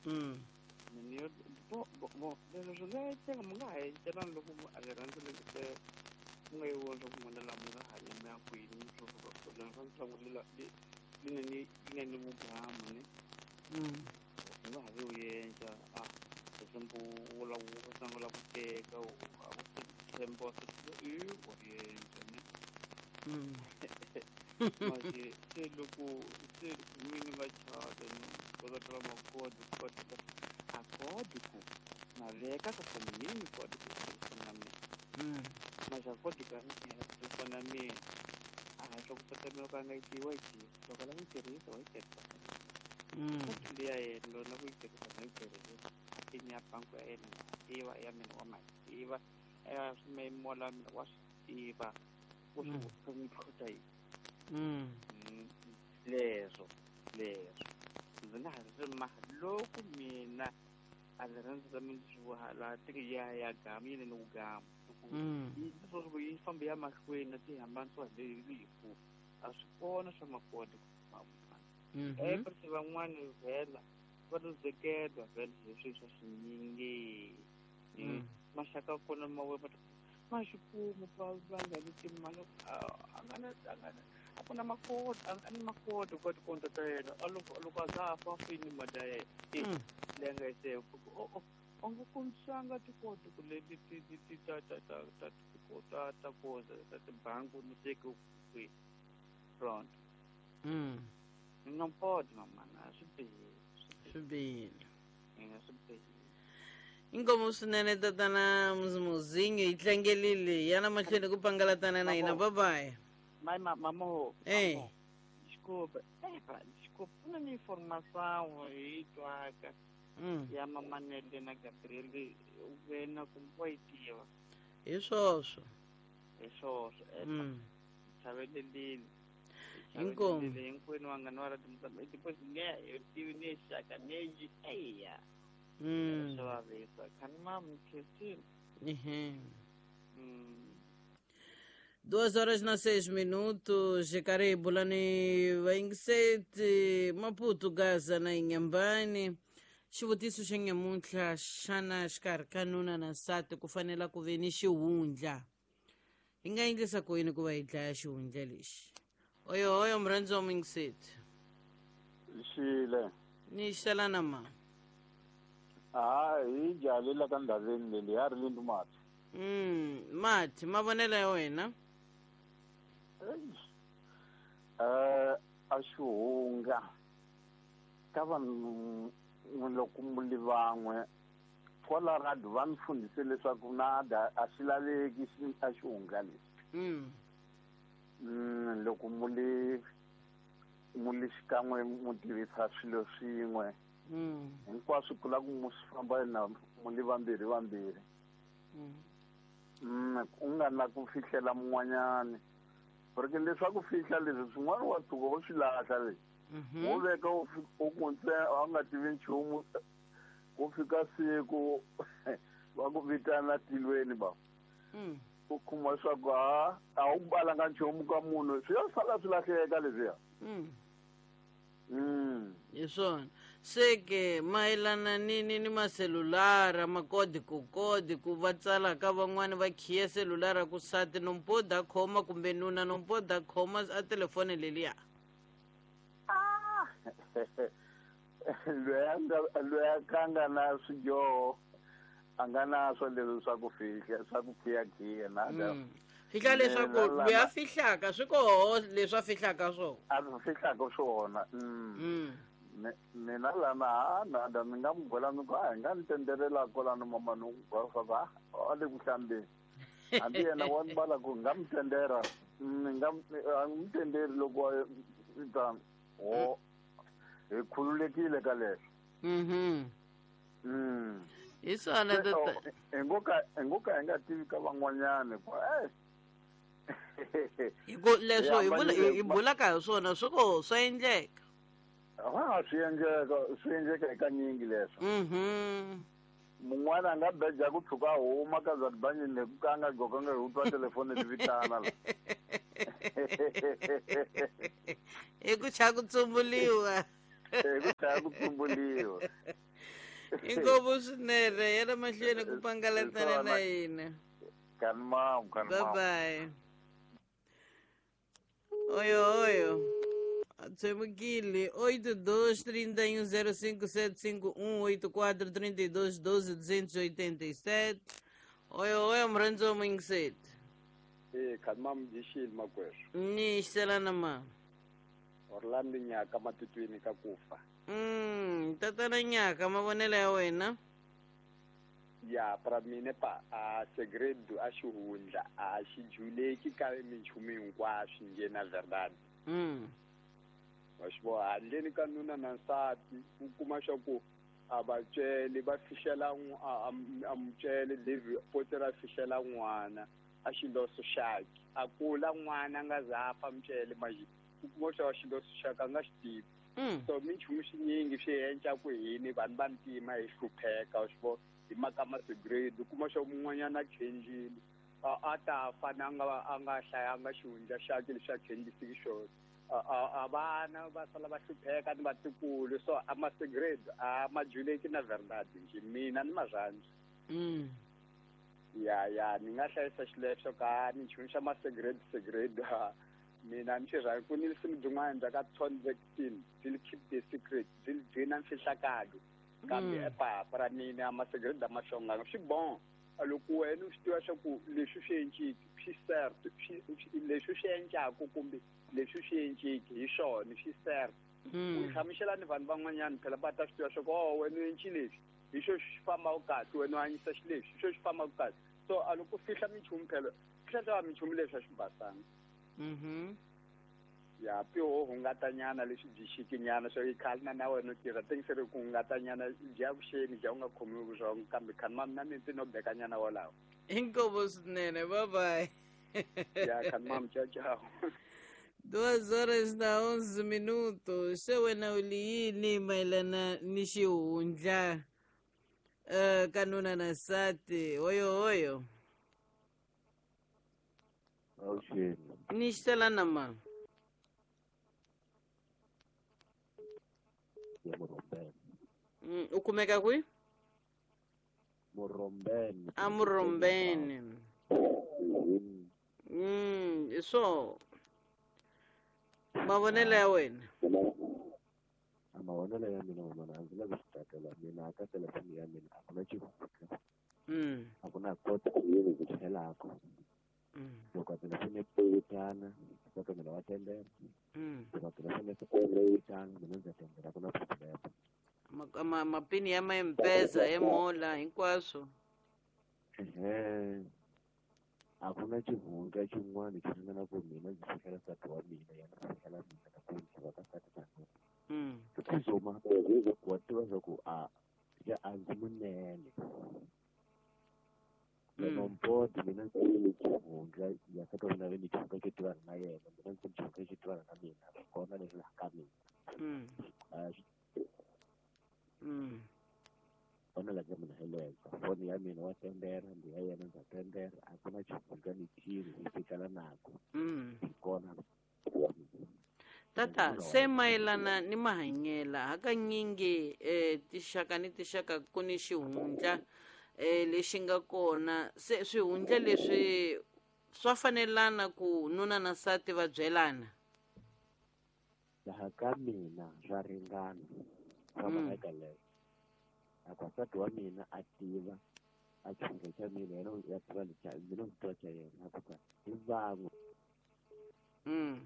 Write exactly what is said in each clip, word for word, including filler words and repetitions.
Mm. Mina yo bo bo bo leswi swi nga endleka mi nga ha encelani loko a ri rhandzi le ku nga yi vona swa ku n'wina laha mi nga hanya mi ya kwini mi swo suka kona swa ntlangu li li li na ni li na ni vugamu ne. Mm. U nga ha vi u endla a example u lava u sungula ku teka a ku tshemba i wa endla ne. Mm. Manje se loko se mina nga chata ni kota tala makodi kota a kodi ku na veka ka foni mini kodi ku fona mina. Mm. Manje a kodi ka mina ku fona mina a swa ku tata loko a nga yi tivi wa yi tiva loko a lava ku yi tirhisa wa yi tirhisa. Mm. Kodi leya yena lona ku yi tirhisa na yi tirhisa a pin ya bangi ya yena na tiva ya mina wa ma tiva ya swimeyimola mina wa swi tiva u swi Mm. swi n'wi tlhota yini. Mm. Mm, leswo leswo ndzi nga ha ri ma loko mina a ri rhandzi ra mina swi laha tiki ya ya gamu yi ni ku gamu loko Mm. yi leswaku yi famba ya mahlweni na ti hambanisiwa hi rifu a swi kona swa makoti ku famba. Mhm. Eh van'wani vhela va luzekela vhela hi swilo swa swinyingi. Mm. Maxaka kona ma we ma xi kuma va va nga ni timali a nga na a nga na a ku na makoti a ni makoti ka tikonto ta yena a loko loko a za a fa fini mali ya yena e Mm. leyi nga yi save o o a nga kombisanga tikoti ku leti ti ti ti ta ta ta ta ta ta koza ta tibangi ni teke kwihi front. Mm. Não pode, mamana, swi bihile. Swi bihile. Ina swi bihile. Inkomu swinene tatana Muzimuzinyo yi tlangelile yana mahlweni ku pangalatana na hina bye bye. Mas mamo, Eh. mamo, desculpa, é, pá, desculpa, ku na ni informação hi twaka Mm. ya mamanele na Gabriel wena kumbe wa yi tiva Hi swoswo. hi swoswo e Mm. chavelelini. Inkomu. Hinkwenu vanghana va rati Mozambique depois nge hi tivi ni xaka ni eya. Mm. Swa vavisa khani mam Christine. Uhum. Mm. Duas horas na seis minutos, karibu lani vaingiseti Maputo, Gaza na Inhambane. Xivutiso xa nyamuntlha xana xikarhi ka nuna na nsati ku fanela ku ve ni xihundla? Hi nga endlisa ku yini ku va hi dlaya xihundla lexi? Oyo oyo murhandzi wa muyingiseti. Xile. Ni xelana ma. Ha hi jalela ka ndhaveni leyi ya ri lindu mati. Mm, mati mavonelo ya wena? Eh a xihunga ka vanhu loko mu van'we kwala radu va mi fundise leswaku na da a xi laveki a xihunga lexi. Mm. Mm, loko mu li mu li xikan'we mu tirhisa swilo swin'we. Mm. Hinkwaswo ku lava ku mu swi famba na mu li vambirhi vambirhi. Mm. Mm, u nga na ku fihlela mun'wanyani. Porque leswaku fihla leswi swin'wana wa tshuka u swi lahla leswi. Mhm. Wo veka u u ku ntsena a nga tivi nchumu ku fika siku va ku vitana tilweni ba. Mm. U kuma leswaku ha a wu balanga nchumu ka munhu swi ya sala swi lahleka leswiya. Mm. Mm. Hi swona. Se ke mayelana ni ni ni maselulara makodi ku kodi ku va tsala ka van'wani va khiya selulara ku sati nompoda khoma kumbe nuna nompoda khoma a telefoni leliya. Ah! Loyi a nga loyi a ka nga na swidyoho a nga na swo leswi swa ku fihla swa ku khiyakhiya na Mm. Fihla leswaku loyi a fihlaka swi koho leswi a fihlaka swona. A swi fihlaka swona. Mm. Mm. Mina lana ha nada ni nga n'wi byela ni ku a hi nga ni tendelela kwalano mama ni ku swa ku a a le ku hlambeni. Hambi yena wa ni bala ku nga mi tendera ni nga a n'wi tenderi loko a ta ho hi khululekile ka leswo. Mhm. Mm. Hi swona tata. Hi ngo ka hi ngo ka hi nga tivi ka van'wanyani ku eh Hi ku leswo hi vula hi bulaka hi swona swi koho swa endleka. Ha swi endleka swi endleka eka nyingi leswo. Mhm. Mun'wana a nga beja ku tshuka a huma ka za tibanyini hi ku ka a nga gqokanga hi ku twa telefoni ti vitana la. Hi ku cha ku tsumbuliwa. Ku tlhela ku tsumbuliwa. Inkomu swinene yena mahlweni ku pangalatana na hina. Kanimam, kanimam. Bye bye. Oyo oyo. Tshemukile oito dois trinta e um zero cinco sete cinco um oito quatro trinta e dois doze duzentos e oitenta e sete. Oyo oyo mrhandzo mingiseti. Eh kanimam dishil makwerhu. Ni xelana ma. Orlando Nyaka matutwini ka kufa. Mm, tatana Nyaka mavonelo ya wena. Ya pra mina pa a segredo a xihundla a xi juleki ka minchumu hinkwaswo nje na verdade. Mm. Wa xi vona handleni ka nuna na nsati u kuma swa ku a va cele va fihlela a mucele David Potter a fihlela n'wana a xiloso xakhe a kula n'wana a nga za a fa mucele manje u kuma swa xiloso xakhe a nga xi tivi. So minchumu swinyingi swi endla ku hini vanhu va ntima hi hlupheka wa xi vona hi mhaka ma segredo u kuma swa mun'wanyana a khenjile a ta fa na nga a nga hlayanga xihundla xakhe lexi a khenjisiki xona. A vana va sala va hlupheka ni vatukulu so a ma segredo a ma juleki na verdade nje mina ni marhandzu. Mm. Ya ya ni nga hlayisa xileswo ka minchumu xa ma segredo segredo mina ni xi rhandza ku ni risimu byin'wana bya ka Ton Vectin byi keep the secret byi gcina mfihlakalo kambe epapa ra mina ma segredo ma xonganga swi bon loko wena u swi tiva swa ku leswi swi enciki swi cert leswi swi encaku kumbe leswi swi enciki hi swona swi cert u hlamusela ni vanhu van'wanyana phela va ta swi tiva swa ku oh wena u enci leswi hi xo xi fambaka kahle wena u hanyisa xileswi hi xo xi fambaka kahle so a loko u fihla minchumu phela fihla swa minchumu leswi a swi basanga. Mhm. Ya piho hungatanyana leswi byi xikinyana swo i khale na na wena u tirha tingiseri ku hungatanyana bya vuxeni bya u nga khomiwi vurhongo kambe khani mami na mina no bekanyana wolawo. Inkomo swinene, bye bye. Ya khani mami, ciao ciao. Duas horas na onze minutos. Se wena u li yini mayelana ni xihundla uh, ka nuna na nsati? Oyo oyo. Awuxeni. Ni xelana ma. Ya Murombeni. Mm, u kumeka kwihi? Murombeni. A Murombeni. Mm, so mavonelo ya wena. A mavonelo ya mina wona a ndzi lavi swi tsakela mina ka telefoni ya mina a ku na xihundla. Mm. A ku na kota yini ku tlhelaka. Loko a telefoni yi vitana swa mina wa tendela. Loko a telefoni yi vitana mina ndza tendela ku na problem. Ma mapini ya ma M-Pesa ya mola hinkwaswo. Ehe. A ku na xihundla xin'wana xi ringana ku mina ndzi fihlela nsati wa mina yena a fihlela mina na ku ndzi va ka nsati na nuna. Mm. Kuzoma wa tiva swa ku a ya a ndzi munene. Loko mina ndzi ni xihundla ya nsati wa mina ve ni xihundla xo tivana na yena mina ndzi ni xihundla xo tivana na mina kona leswi laha ka mina. Mm. Mm. Kona la ka mina heleza foni ya mina wa tendera ndi ya yena ndza tendera a ku na xihundla ni xilo hi fikela nako. Mm. Kona. Tata se mayelana ni mahanyela hakanyingi eh tixaka ni tixaka ku ni xihundla eh lexi nga kona se swihundla leswi swa fanelana ku nuna na nsati va byelana. Laha ka mina swa ringana swa mhaka leyo. A ku nsati wa mina a tiva a xihundla xa mina yena ya tiva lexa mina ndzi tiva xa yena a ku ka hi van'we. Mm.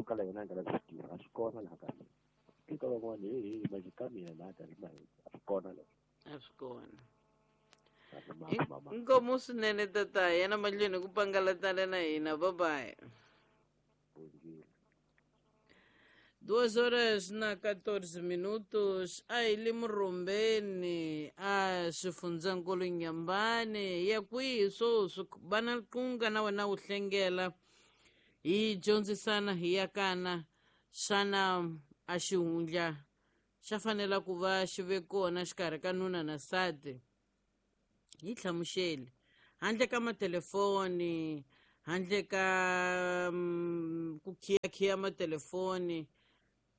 Kala yena a nga lavi swi tiva a swi kona laha ka mina. Eka van'wana he he manje ka mina laha ka ri a swi kona leswo. A swi kona. Inkomu swinene tata yena mahlweni ku pangalatana na hina. Bye bye. Duas horas na quatorze minutos. A hi le Murombeni a xifundzankulu Nyambani ya kwihi swoswi va na nqunga na wena wu hlengela hi dyondzisana hi yakana xana a xihundla xa fanela ku va xi ve kona xikarhi ka nuna na nsati. Hi hlamuseli handle ka matelefoni Handle ka mm, ku khiya-khiya matelefoni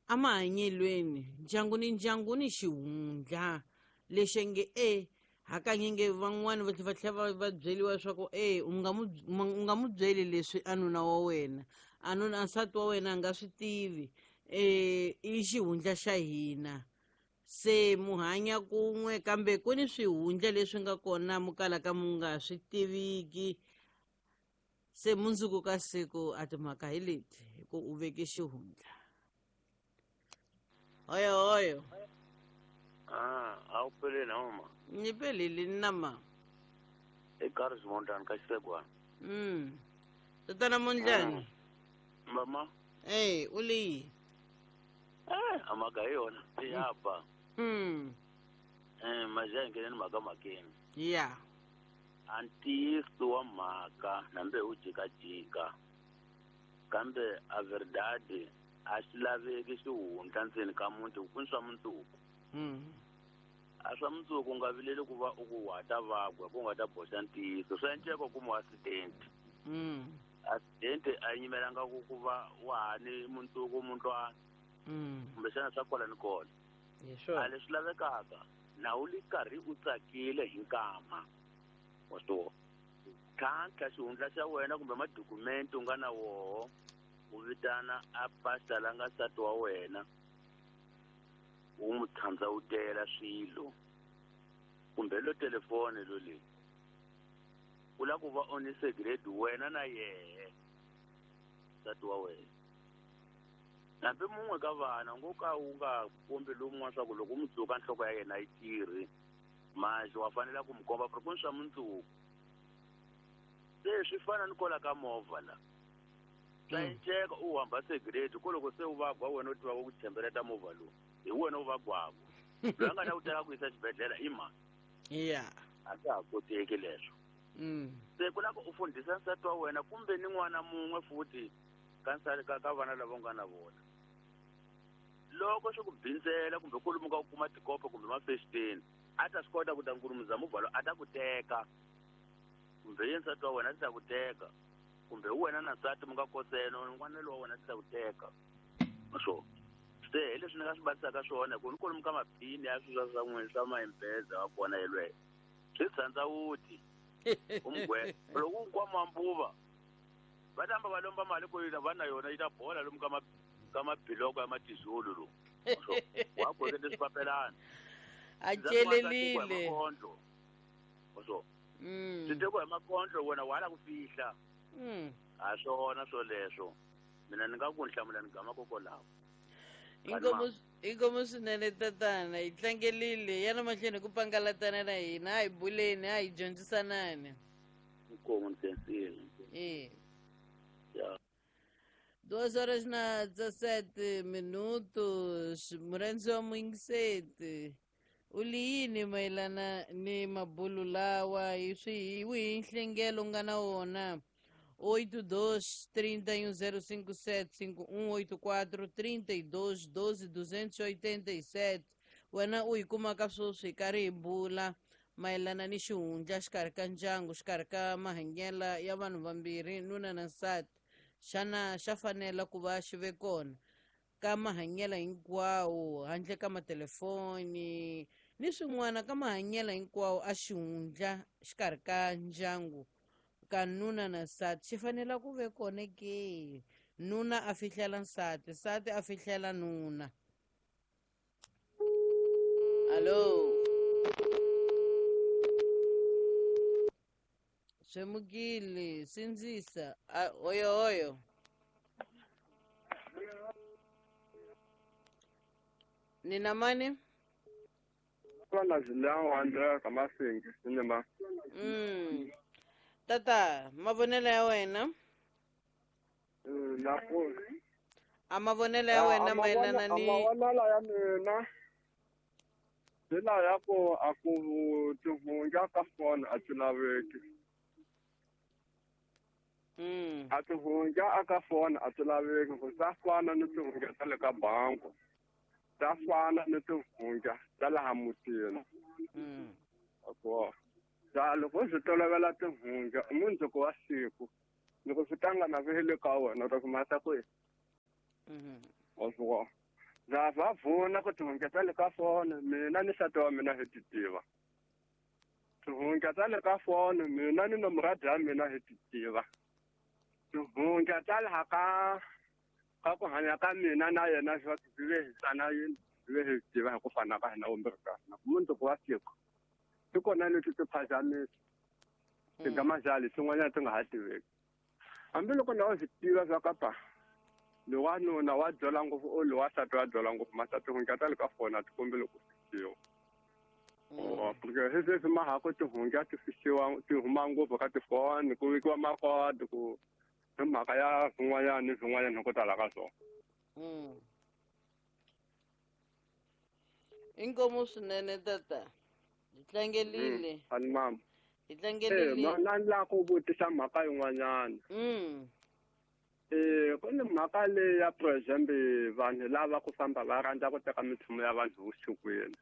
emahanyelweni ndyangu ni ndyangu ni xihundla lexi nge e hakanyingi van'wani va tlhela va tlhela va va byeriwa leswaku e u nga mu u nga mu byeli leswi a nuna wa wena a nuna nsati wa wena a nga swi tivi eh i xihundla xa hina se mu hanya kun'we kambe ku ni swihundla leswi nga kona mu kalaka mu nga swi tiviki se mundzuku ka siku a timhaka hi leti hi ku u veke xihundla hoyo hoyo. Ah, a wu peleni mama. Ni pelile na ma. Eka Mondlane ka Xisegwana. Mm. Tatana Mondlane. Mama. Eh, u leyi. Eh, amaka hi yona. Ya ba. Mm. Eh, maja ngeneni mhaka makeni. Yeah. A ntiyiso wa mhaka nambe u jikajika. Kambe a verdade a xi laveki xihundla ndzeni ka muti ku swa mundzuku. Mm. A swa mundzuku u nga vileli ku va u ku wa ta vagwa ku nga ta boxa ntiyiso swa endleka ku mu accident. Mm. Accident a yi nyimelanga ku ku va wa ha ni mundzuku muntwana. Mm. Kumbexana swa kwala ni kona. Hi swona. A leswi lavekaka na u li karhi u tsakile hi nkama. Wa swi vona. Tlhantlha xihundla xa wena kumbe madokumenti u nga na woho u vitana a pasta la nga nsati wa wena u n'wi thandzawutela swilo kumbe lo telefoni lo leyi u lava ku va u ni secret wena na yehe nsati wa wena hambi mun'we ka vana ngo ka u nga kombi lowun'wana swa ku loko u n'wi dzuka nhloko ya yena yi tirhi manje wa fanela ku n'wi komba ku ri ku ni swa mundzuku se swi fana ni kwala ka movha la swa enceka u hamba secret ko loko se u vagwa wena u tivaka ku tshembeleta movha lowu hi wena u vagwako loyi a nga ta ku teka ku yisa xibedhlele i mani. Yeah. A swa ha koteki leswo. Mm. Se ku lava u fundhisa nsati wa wena kumbe ni n'wana mun'we futhi ka nsati ka ka vana lava u nga na vona loko swi ku bindzela kumbe kwalomu ka ku kuma tikopo kumbe mafexiteni a ta swi kota ku ta nkulumuza movha lowu a ta ku teka kumbe ye nsati wa wena a ti ta ku teka kumbe wena na nsati mi nga koseno n'wana lowa wena a ti ta ku teka swo se hi leswi ni nga swi batisaka swona hi ku ni kwalomu ka maphini ya swilo swa n'wina swa mahimpeza wa kona yelweyo swi tshandza wuti u mugwe loko u nkwama mbuva va tamba va lomba mali ku va na yona yi ta bola lomu ka ma ka mabiloko ya matizulu lowu wa kokete swipapelana a celelile so swi tekiwa hi makondlo wena wa la ku fihla a swona swoleswo mina ni nga ku nhlamula ni gama kokolawo. Inkomu inkomu swinene tatana hi tlangelile yana mahlweni ku pangalatana na hina a hi buleni a hi dyondzisanani. Inkomu ni khensile. E. Ya. Duas horas na dezessete minutos murhandzi wa muyingiseti u li yini mayelana ni mabulu lawa hi swi hi wihi nhlengelo u nga na wona? Oito dois trinta e um zero cinco sete cinco um oito quatro trinta e dois doze duzentos e oitenta e sete. Wena u yi kumaka sweswi hi karhi hi bula mayelana ni xihundla xikarhi ka ndyangu xikarhi ka mahanyelo ya vanhu vambirhi nuna na nsati xana xa fanela ku va xi ve kona ka mahanyelo hinkwawo handle ka matelefoni ni swin'wana ka mahanyelo hinkwawo a xihundla xikarhi ka ndyangu ka nuna na nsati xi fanela ku ve kona ke nuna a fihlela nsati nsati a fihlela nuna. Allo Swemukile sindzisa oyo oyo nina mani Kona zilawo Andrea Kamasingi sinema. Mm. Tata mavonelo ya wena Na ku a mavonelo ya wena mayelana ni mavonelo ya mina ndlela ya ku a ku tihundla ka foni a ti laveki. Mm. A tihundla aka foni a ti laveki ku ta fana ni tihundla ta le ka bangi ta fana ni tihundla ta laha mutini. Mm. Ako ta loko swi tolovela tihundla mundzuku wa siku Loko swi tlanga na swi le ka wena u ta swi masa kwihi? Wa swi vona. Ndza va vona ku tihungeta ta le ka foni mina ni nsati wa mina hi ti tiva. Tihungeta ta le ka foni mina ni nomoradi ya mina hi ti tiva. Tihungeta ta laha ka ka ku hanya ka mina na yena swa swi ve hi tsana yini swi ve hi tiva hi ku fana ka hina vumbirhi ka hina. Mundzuku wa siku ti kona leti ti phazamisa ti nga mazali swin'wanyana ti nga ha tiveki. Hambiloko na u swi tiva swa ka pa lowanuna wa byela ngopfu o lowa nsati wa byela ngopfu masa tihungeta ta le ka foni a ti kombeli ku fihliwa. Porque hi sweswi ma ha ku tihungeta ti fihliwa ti huma ngopfu ka tifoni ku vekiwa makodi ku hi mhaka ya swin'wanyana ni swin'wanyana hi ku tala ka swona. Inkomu swinene tata. Hi tlangelile. Ani mama. Hi tlangelile. Eh, na ni lava ku vutisa mhaka yin'wanyana. Mm. Eh, ku ni mhaka leyi ya for example vanhu lava ku famba va rhandza ku teka minchumu ya vanhu vusikwini.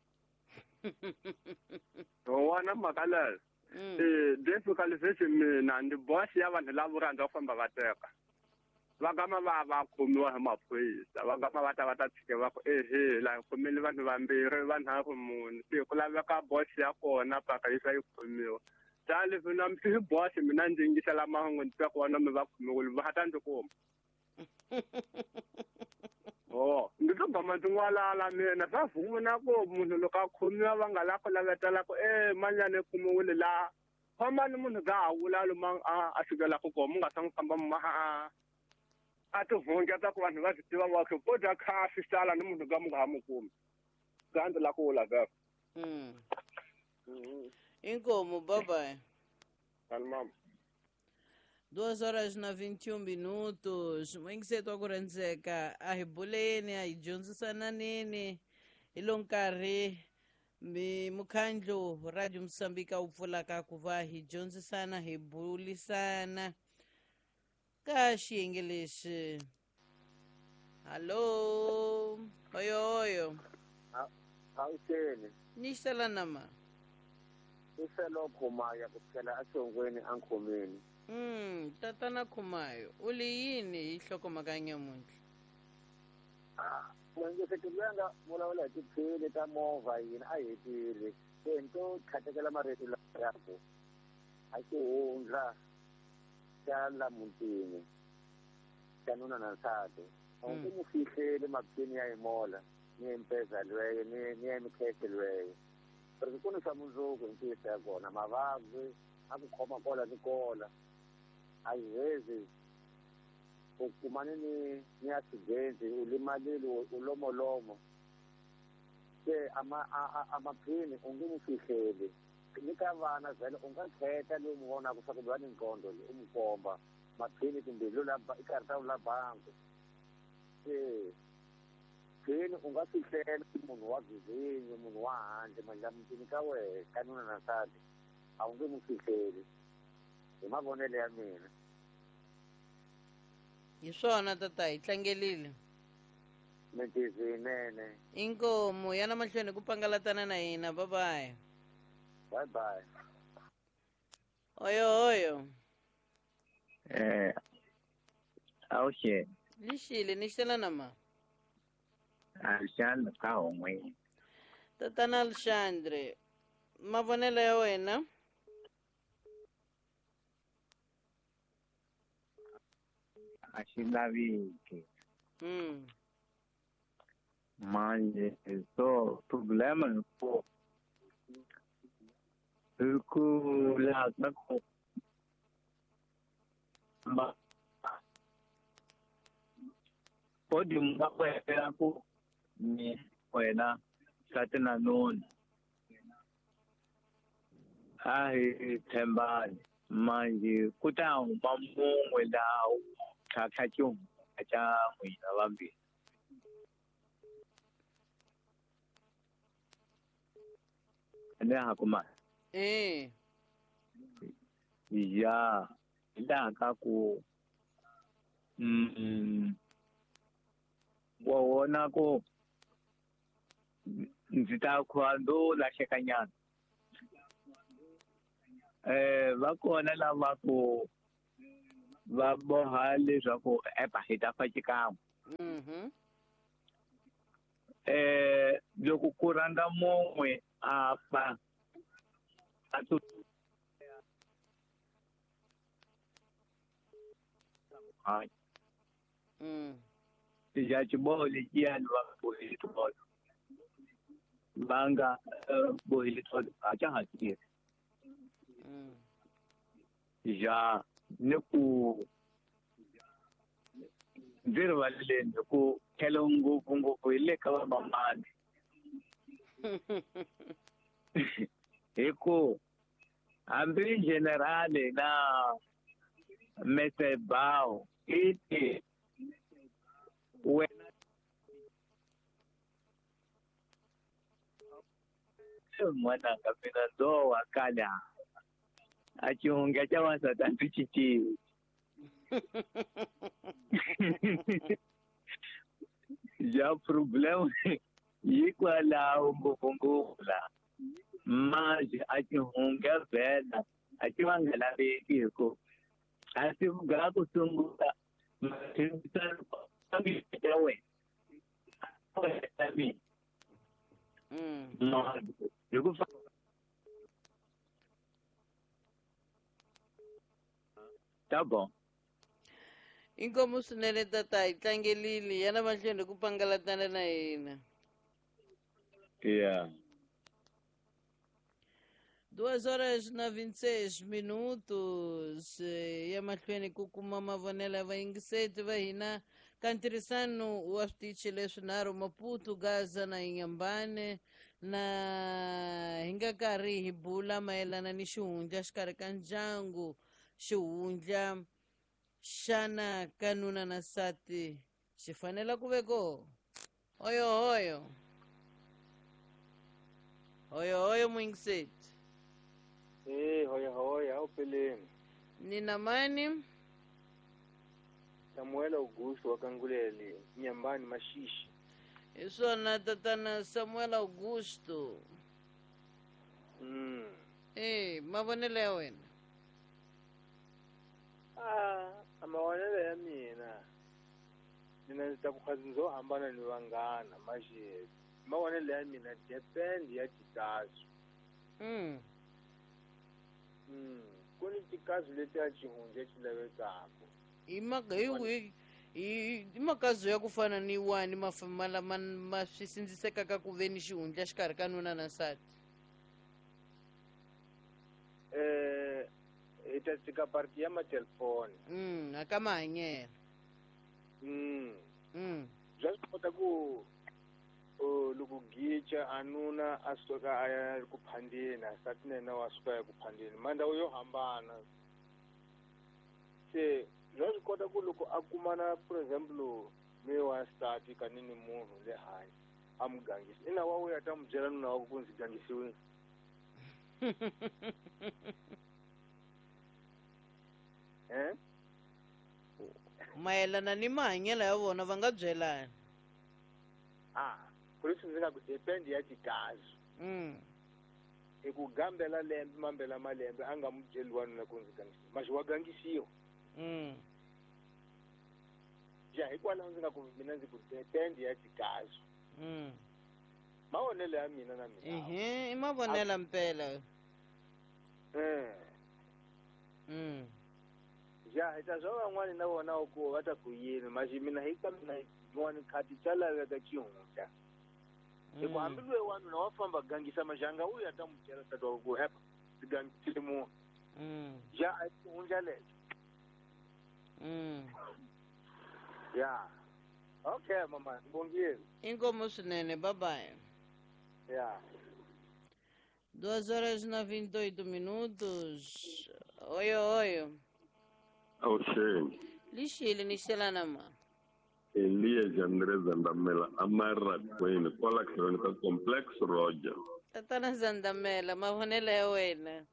Wona mhaka leyo. Eh, difficult leswi mina ni boss ya vanhu lava rhandza ku famba va teka. Va gama va va khomiwa hi maphorisa, va gama va ta va ta tshike va ku ehe la hi khomile vanhu vambirhi vanharhu mune se ku laveka boss ya kona paka yi yi khomiwa. Ta leswi na hi boss mina ndzi yingisela mahungu ndzi twa ku vona mi va khomiwile va ta ndzi kuma. Oh, ndzi to gama ndzi n'walala mina swa vuna ku munhu loko a khomiwa va nga la ku lavetela ku e manyana i khomiwile laha fambani munhu ga ha vula lomu a a sukelaka kona mu nga sa n'wi famba ma a a tihungeta ku vanhu va swi tiva va ku ko dya khafi sala ni munhu ga mu nga ha mu kumi. Ga ndzi la ku vula vhele. Mm. Inkomu, bye bye. Mama. Duas horas na vinte e um minutos. Mwingiseto wa ku rhendzeka a hi buleni a hi dyondzisananeni hi lo nkarhi mi mukhandlu Radio Mozambique wu pfulaka ku va hi dyondzisana hi bulisana ka xiyenge lexi. Hallo, oyo oyo. Awuxeni. Ni xela nama. I felo Khumaya ku tlhela exongweni a nkhomeni. Mm, tatana Khumayo, u li yini hi nhlokomhaka ya nyamuntlha? Ah, mwingiseti loyi a nga vulavula hi tiphini ta movha yini a hetile. Se ni to tlhatekela marito lawa ku a xihundla xa la mutini xa nuna na nsati. A wu nge mu fihleli maphini ya yimola ni impeza lweyo ni ni ya mikhekhe lweyo. Porque ku ni swa mundzuku hi ntiyiso ya kona mavabyi a ku khoma kola ni kola. A yi hezi u kumane ni ni accident u limalile u lomolomo. Se ama a maphini u nge mu fihleli. Ni ka vana vhele u nga khetha loyi mu vonaka swa ku loyi a ni nqondo loyi u mu komba maphini kumbe lo la i karhi la bangi. Se phini u nga fihlela munhu wa vizinyo munhu wa handle mandla mutini ka wehe ka nuna na nsati a wu nge mu fihleli hi mavonelo ya mina. Hi swona tata, hi tlangelile. Mintizi yinene. Inkomu yana mahlweni ku pangalatana na hina. Bye bye. Bye bye. Oyo oyo. Eh, awuxeni. Lixile ni xela nama. Alexandre ka hongweni. Tatana Alexandre, mavonelo ya wena? A xi laveki. Mm. Manje so problema hi ku hi ku laha ka ku ma podium va ku hela ku ni wena nsati na nuna a hi tshembani manje ku ta huma mun'we laha wu tlhatlha xihundla xa n'wina vambirhi. Ene ha kuma. Eh. Ya, hi laha ka ku mm wa vona ku ndzi ta kha ndo lahlekanyana. Eh va kona lava ku Va boha leswaku epa hi ta fa xikan'we. Mhm. Eh loko ku rhanga mun'we a fa a tu hayi. Mm. Ja xiboho lexiyani va bohile tolo. Va nga bohile tolo a xa ha tirhi. Mm. Ja ni ku ndzi rivaleleni hi ku tlhelo ngopfungopfu hi le ka vamamani. Hi ku hambi generale na Mister Bao i ti wena n'wananga mina ndzo wa kala a xihundla xa wansati a ndzi xi tivi. Ja problem hikwalaho ngopfungopfu laha manje a xihundla vhela a xi va nga laveki hi ku a swi ga ku sungula ya wena Mm. hi ku ta bon. Inkomu swinene tata hi tlangelile yana mahlweni hi ku pangalatana na hina. Yeah. Duas horas na vinte e seis minutos ya mahlweni ku kuma mavonelo ya vayingiseti va hina ka ntirhisano wa switichi leswinharhu Maputo, Gaza na Inhambane na hi nga karhi hi bula mayelana ni xihundla xikarhi ka ndyangu xihundla xana ka nuna na nsati xi fanele ku ve koho. Hoyo hoyo hoyo hoyo muyingiseti. Eh, hoya hoya, awupheleni. Nina mani? Samuel Augusto wa Kangulele, Nyambani Mashishi. Hi swona tatana Samuel Augusto. Mm. Eh, mavonelo ya wena? Ah, mavonelo ya mina. Mina ndzi ta ku khwazi ndzo hambana ni vanghana, manje mavonelo ya mina depend ya tikazi. Mm. Mm. Ku ni tikazi leti a xihundla xi lavekaka. Hi hi hi hi makazi ya ku fana ni wani ma ma ma swi sindzisekaka ku ve ni xihundla xikarhi ka nuna na nsati. Eh, hi ta tshika parti ya matelefoni. Mm, a ka mahanyelo. Mm. Mm. Bya swi kota ku loko gicha a nuna a suka a ya ku phandeni, nsati na yena wa suka ya ku phandeni, mandhawu yo hambana. Se bya swi kota ku loko a kumana for example me wa nsati kani ni munhu le handle a mu gangisa, ina wa wuya ta mu byela nuna wa ku ndzi gangisiwile. Eh? Mayelana ni mahanyelo ya vona va nga byelani. Ah, ku leswi ndzi nga ku depend ya tikazi. Mm. Hi ku gambela lembe mambela malembe a nga mu byeli wanuna ku ndzi gangisiwa, maxi wa gangisiwa. Mm. Ja hikwalaho ndzi nga ku mina ndzi ku depend ya tikazi. Mm. Mavonelo ya mina na mina. Ehe, i mavonelo mpela. Eh. Mm. Ja hi ta swa van'wani na vona ku va ta ku yini, maxi mina hi ka mina yin'wani khati xa laveka xihundla. Hi ku hambi loyi wanuna wa famba gangisa maxanga u ya ta mu byela tata wa ku epa ndzi gangisile munhu. Mm. Ja a xihundla lexo. Mm. Ya. Okay mama, ngibongile. Inkomu swinene, bye bye. Ya. Duas horas na vinte e oito minutos. Oyo oyo. Awusheni. Lixile ni xelana ma. Elias Andrés Zandamela amarakweni kwala tlhelweni ka Complex Roger. Tatana Zandamela, mavonelo ya wena.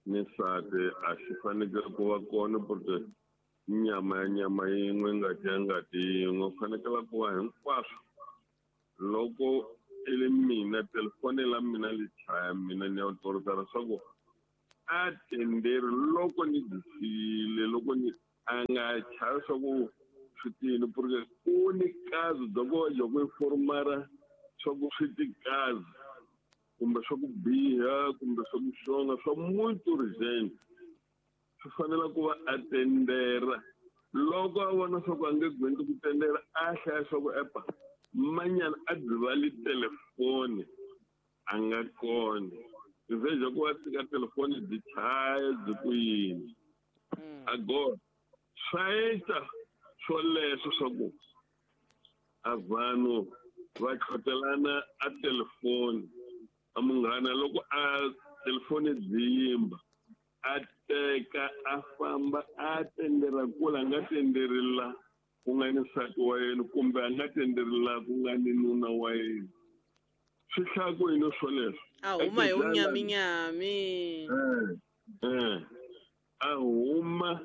Ni nsati a xi fanekele ku va kona porque nyama ya nyama yin'we ngati ya ngati yin'we fanekele ku va hinkwaswo. Loko i le mina telefoni la mina li chaya mina ni ya torotela leswaku A tenderi loko ni byi loko ni a nga chavi swa ku swi tini porque ku ni kazi bya ku loko i formara swa ku swi ti kazi kumbe swa ku biha kumbe swa ku xonga swa muito urgent swi fanele ku va a tendera loko a vona swa ku a nge gwendi ku tendera a hlaya swa ku epa manyana a dzivali telefoni a nga kona veja ku va teka telefoni byi chaya byi ku yini agora swa endla swoleswo swa ku a vanhu va tlhotelana a telefoni a munghana loko a telefoni byi yimba a teka a famba a tendera kula a nga tenderi la ku nga ni nsati wa yena kumbe a nga tenderi la ku nga ni nuna wa yena swi hlaya ku yini swoleswo a huma hi vunyaminyami eh a huma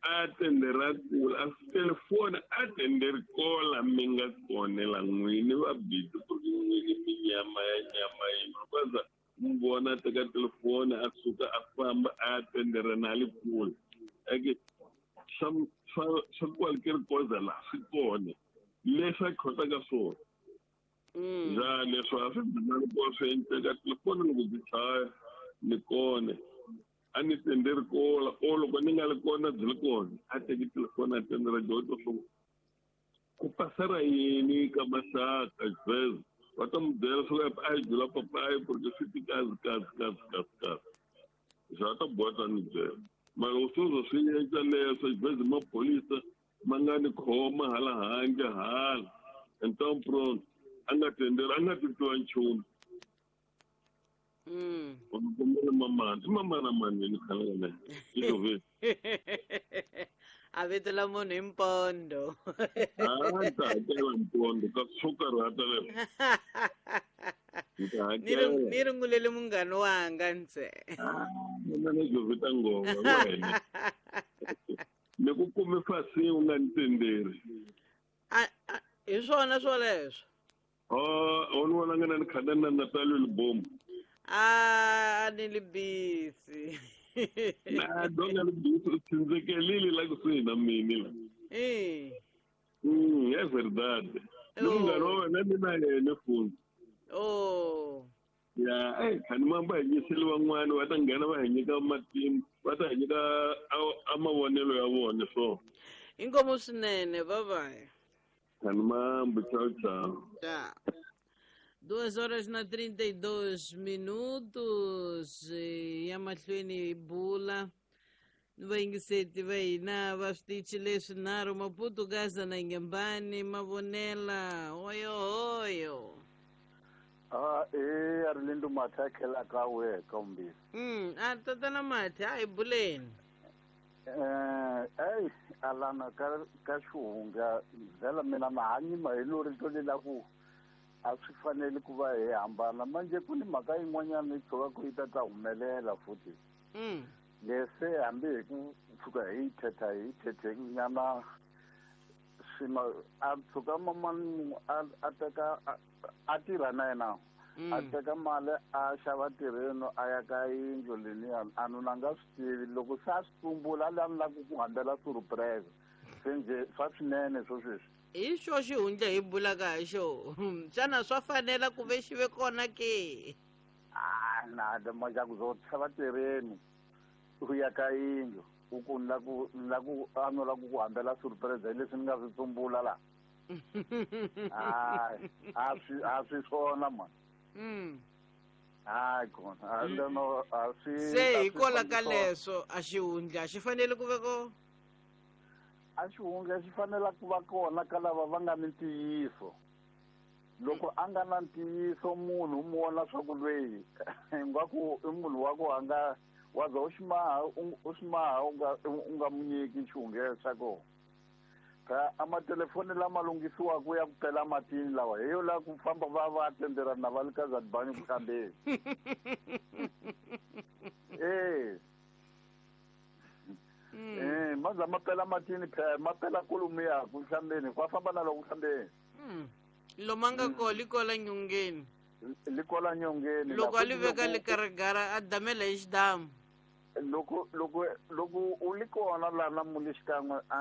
a tendera kula a telefoni a tenderi kola mi nga konela n'wini va bidi ku ri n'wini minyama ya nyama yin'we kwaza mi vona a teka telefoni a suka a famba a tendera na le kule eke swa swa swa kwalike koza la swi kona leswi a khotaka swona ja leswi a swi dzinani ku swi endleka telefoni loko byi chaya ni kona a ni tenderi kola o loko ni nga li kona byi li kona a teki telefoni a tendera dyondzo swo ku pasela yini ka maxaka sweswo va ta mi byela swo a yi byela papayi porque swi ti kazi kazi kazi kazi kazi swa ta boha ta ni byela mara loko sweswo swi endla leswo xibedhlele maphorisa ma nga ni khoma hala handle hala então pronto a nga tenderi a nga titwa nchumu Mm. Kombela mamana i mamana mani ni khala na i a vito la munhu hi mpondo a ta hakela mpondo ka swo karhata leswo ni ri ni rungulele munghana wanga ntse mina ni jovita ngoma wena ni ku kume fasi u nga ni tenderi hi swona swoleswo o ni vona nga na ni khada na Natalio Libombo a ni li busy na donga li busy u tshindzekelile la kusuhi na mini la eh mm é verdade ni munghana wa wena ni na yena fundi oh ya eh khani mamba hi nyiseli van'wani va ta nghena va hi nyika matimu va ta hi nyika a mavonelo ya vona so inkomu swinene bye bye khani mambo ciao ciao Tchau. Duas horas na trinta e dois minutos ya mahlweni hi bula vayingiseti va hina va switichi leswinharhu Maputo Gaza na Inhambane mavonela hoyo hoyo Ah eh a ri lindo matha khela ka we ka mm a tatana mathe a hi buleni eh ei alana ka ka xihunga vhela mina mahanyi ma hi lori to lela ku a swi fanele ku va hi hambana manje ku ni mhaka yin'wanyana yi tshuka ku yi ta ta humelela futhi mm lese hambi hi ku tshuka hi yi thetha hi yi thethe nyana swima a tshuka mamani a a teka a tirha na yena a teka mali a xava tirheni a ya ka yindlu leniya a nuna nga swi tivi loko se a swi tumbula a la ni lava ku hambela surprise se njhe swa swinene swo sweswi hi xo xihundla hi bulaka hi xo xana swa fanela ku ve xi ve kona ke a na majaku zo xava tirheni u ya ka yindlu u ku ni la ku ni la ku a no la ku ku hambela surprise hi leswi ni nga swi tsumbula la hayi a swi a swi swona mani mm hayi kona a no a swi se hikola ka leswo a xihundla xi fanele ku ve kona a xihundla xi fanela ku va kona ka lava va nga ni ntiyiso loko a nga na ntiyiso munhu u mu vona swa ku lweyi ingaku i munhu wa ku a nga wa za u ximaha u ximaha u nga u nga mu nyiki xihundla xa kona ka a matelefoni lama lunghisiwaka ya ku pela matini lawa hi yo la ku famba va va tenderana na va le ka Zadibani ku hlambeni eh eh maza ma pela matini phela ma pela kolomu ya ku hlambeni kwa famba na loko hlambeni loma nga ko li kola nyongeni li kola nyongeni loko a li veka li karigara a damela hi xidamu Loko loko loko u li kona lana mu le xikan'we a